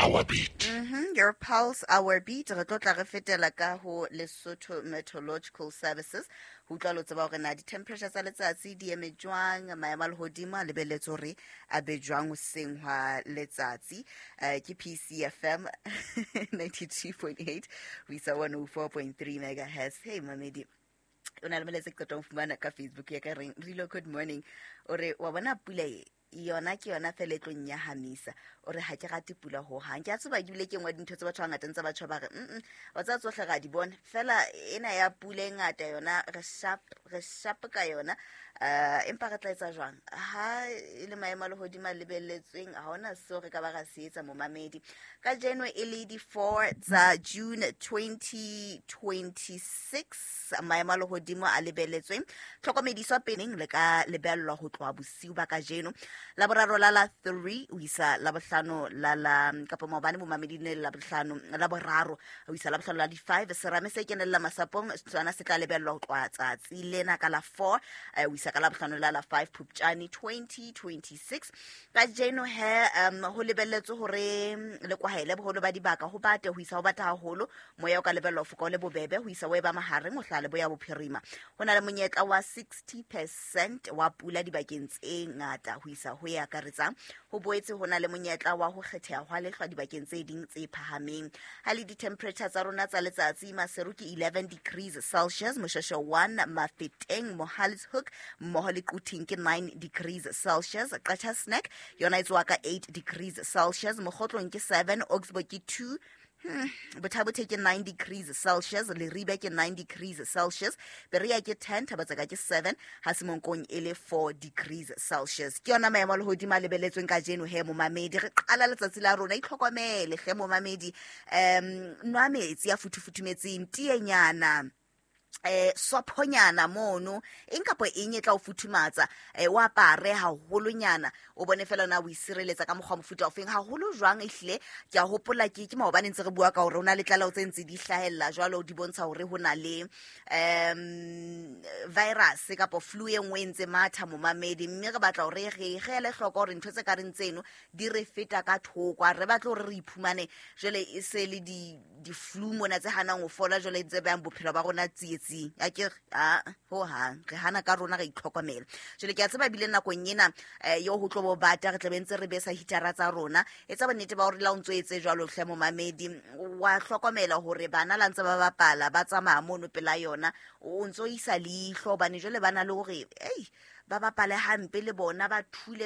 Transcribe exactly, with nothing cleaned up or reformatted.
our beat. Mm-hmm. Your pulse, our beat. Re tlo tla re fetela ka ho Lesotho Meteorological Services ho utlwa lo tseba hore na di-temperature tsa letsatsi di eme jwang, maemo a lehodimo a lebelletse hore a be jwang hoseng hwa letsatsi. uh, ke P C F M ninety-two point eight ho isa one oh four point three megahertz. Hey mamedi, o na le molaetsa ke qeta ho fumana ka Facebook ya ka reng rilo. Good morning. O re wa bona pula e yona ke yona fela e tlo nyahamisa. O re ha ke rate pula hohang. Ke a tseba ebile ke nngwe dintho tse batho ba ngata ntse batho ba re mm wa tseba tsohle ra di bona, fela ena ya pula e ngata yona re sharp, re sharp ka yona. um empa re tla etsa jwang ha e le maemo a lehodimo a lebelletsweng? Ha hona seo re ka ba ra se etsa, momamedi. Kajeno e le di-four tsa June twenty twenty-six, maemo a lehodimo a lebelletsweng tlhokomediswa peneng le ka lebellwa ho tloha bosiu ba kajeno la boraro la la three ho isa la bohlano la la kapa maobane, momamedi, ne la bohlano la boraro ho isa la bohlano la di-five. Serame se kenella masapong sona se tla lebellwa ho tloha tsatsi lena ka la four eh, ho isa ka la bohlano la la five Phupjane twenty twenty-six. Kajeno he um ho lebelletswe hore le kwahele boholo ba dibaka, ho bate ho isa ho bata haholo. Moya o ka lebellwa ho foka o le bobebe ho isa ho e ba mahareng ho hlaha leboya bophirima. Ho na le monyetla wa sixty percent wa pula dibakeng tse ngata ho isa ho e akaretsang. Ho boetse ho na le monyetla wa ho kgetheha hwa lehlwa dibakeng tse ding tse phahameng. Ha le di-temperature tsa rona tsa letsatsi, Maseru ke eleven degrees Celsius, Moshweshwe one, Mafeteng, Mohale's Hoek mmoho le Quthing ke nine degrees Celsius, Qacha's Nek yona e tsoa ka eight degrees Celsius, Mokhotlong ke seven, Augsburg ke two, Hmm, Botha-Bothe ke nine degrees Celsius, Leribe ke nine degrees Celsius, Berea ke ten, Thaba-Tseka ke seven, ha Semonkong e le four degrees Celsius. Ke yona maemo a lehodimo a lebelletsweng kajeno he, momamedi. Re qala letsatsi la rona, itlhokomele hle momamedi. um nwa metsi a futhufuthumetseng, tienyana, eh sophonyana mono, eng kapa eng e tla o futhumatsa, eh o apare haholonyana, o bone fela na o isireletsa ka mokgwa mofuta ofeng haholo jwang. Ehlile ke a hopola ke ke maobane ntse re bua ka hore o na le tlaleho tse ntse di hlahella jwalo, di bontsha hore ho na le um virus kapa flu e nngwe e ntse matha, momamedi, mme re batla hore re re ele hloko hore ntho tse ka reng tseno di re feta ka thoko. Ha re batle hore re iphumane jwale e se le di di-flu mona tse hanang ho fola, jwale tse behang bophelo ba rona tsietsing. Akere a ho hang re hana ka rona, re itlhokomela. Jwale ke a tseba ebile nakong ena um yo ho tlo bo bata, re tlabe ntse re besa hitara tsa rona. Etsa bonnete ba hore la o ntso etse jwalo hle momamedi, wa hlokomela hore bana la ntse ba bapala, ba tsamaya mono pela yona, o ntso isa leihlo, hobane jwale ba na le hore ei ba bapale hampe le bona ba thule.